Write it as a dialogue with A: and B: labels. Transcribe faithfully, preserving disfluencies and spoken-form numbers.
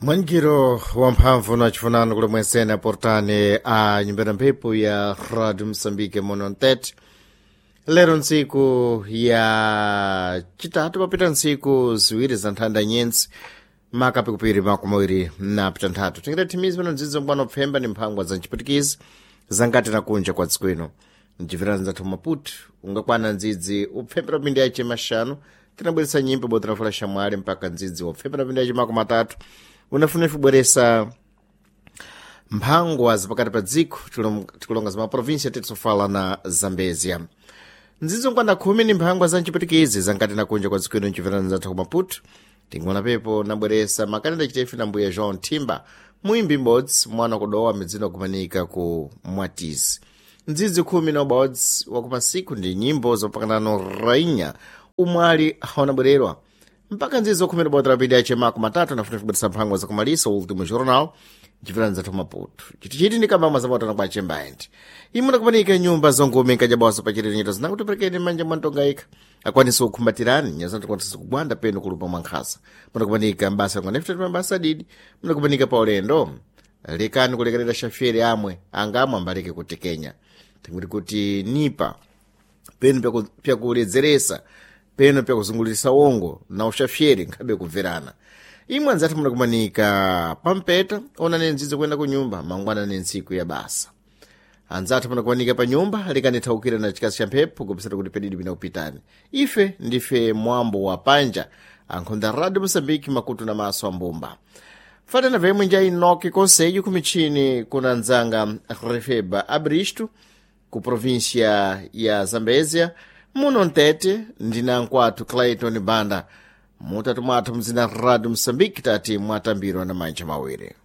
A: Mwangiro wamphamvu na chifunano kuli mwensene aportane a nyumba ya mphepo ya Radio Msambike muno mtete. Lero ntsiku ya chitatu, papita ntsiku ziwiri za nthanda nyensi makapikupiri makumawiri na pitanthatu, tingati thimizi pano ndzidzo mkwano pfemba ni mphangwa za nchiputikizi zangati na kunja kwa dziko ino mcibvera nzathu Maputo ungakwana ndzidzi upfembera pindi yace maxanu. Tinabweresa nyimbo botirafula xamwali mpaka ndzidzi wopfembera pindi yace makumi atatu unafuna ifubweresa mphangwa zapakati pa dziko, tikulonga za maprovinsia titsofala na Zambezia. Ndzidzo nkwanda khumi ni mphangwa za mchiputikizi zankati na kunja kwa dziko ino mcibvera nzathu ku Maputo. Tingona pepo nabweresa makaneda chitefi na mbuya João Thimba, muimbi m'bodzi mwana kudowa midzino kumanika ku Mwatisi. Ndzidzi khumi na ubodzi wakumasiku ndi nyimbo zopakanano rainha umwali haunabwererwa mpaka ndzidzi khumi na ubodzi rapindi ache mako matatu nafuna kubweresa mphangwa zakumalisa Último Jornal mcibvera nzathu Maputo. Chitichiti ndi kambamwa zapotana kwa chembaendi imuna kumanika nyumba zongume nkajabawaso pachitiro nyito zinakuti perekeni manja mwantonga ikha akwanisa kukhumbatirani nyazanti kwanisa kugwanda peno kulupa mwankhasa. Munakumanika mbasa ngwanefutati mabasa adidi, munakumanika pa ulendo lekani kulekerera shafyeri amwe angamwe ambaleke kutekenya tinguti kuti nipa peno pyakuledzeresa peno pyakuzungulirisa wongo na ushafyeri nkhabe kubverana. Imwe anzathu munakumanika pampeta, onani ndzidzo kuyenda ku nyumba mangwana ni ntsiku ya basa. Anzathu munakumanika pa nyumba likanithaukira na chikazi cha mphepo kupisata kuti pedidi pina kupitani. Ife ndife mwambo wa panja ankhonda Radio Mosambiki, makutu na maso ambumba fanana vemwe nja inoki konselho kumichini kuna nzanga Refeba Abristo ku província ya Zambésia. Muno mtete ndina nkwathu Clayton Banda, mutatu mwathu mzina Radio Mosambiki tati mwatambirwa na manja mawiri.